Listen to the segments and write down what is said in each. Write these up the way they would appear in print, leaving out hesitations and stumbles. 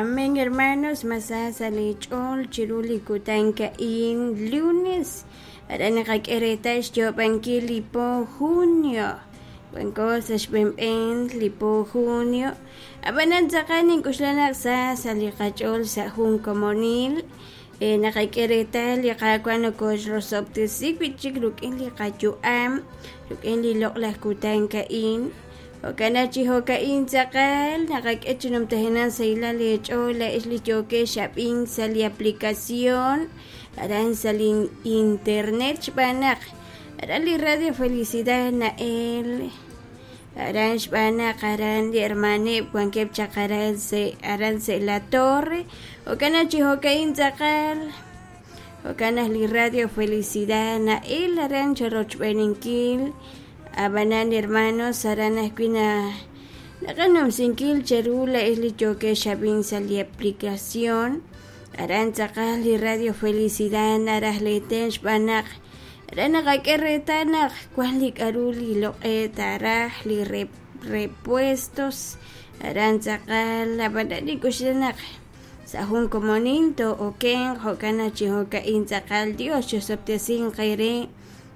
Amén, hermanos, mas sa sa' leech'ool chiru li kutan a'in lunes. Aran naqak'e reetal xyoob'ankil li po junio. Wanko sa' xb'een li po junio. Ab'anan tz'aqal nink'oxla naq sa sa' li qach'ool sa' jun komonil. Naqak'e reetal li Qaawa' nokoxrosob'tesi wi' chik rik'in li qayu'am, rik'in li loq'laj kutan a'in. Jo'kan naq chi jo'ka'in tz'aqal naqak'e chi numtajenaq sahilal eech'ool laa'ex li yookex ab'ink sa' li aplicación aran sa' li internet xb'aan naq aran li Radio Felicidad na'el aran xb'aan naq aran li hermaneb' wankeb' chaq aran sa' aran sa' La Torre. Jo'kan naq chi jo'ka'in tz'aqal jo'kan naq li Radio Felicidad na'el aran cherochb'eeninkil. Ab'anan hermanos aran ajwi' na naqanumsinkil cheru laa'ex li yookex ab'ink sa' li aplicación aran tz'aqal li Radio Felicidad naraj leeten xb'aan naq aran naqak'e reetal naq wan li k'a'ru li loq'e'k taaraj li repuestos aran tz'aqal ab'anan nink'oxla naq sa' jun komonil too'okenq jo'kan naq chi jo'ka'in tz'aqal Dios chosob'tesinq eere.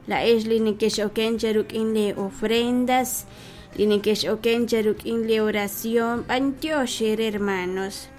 Laa'ex li nekex'oken cheruk'in lee ofrendas, li nekex'oken cheruk'in lee oración, b'antiox eere hermanos.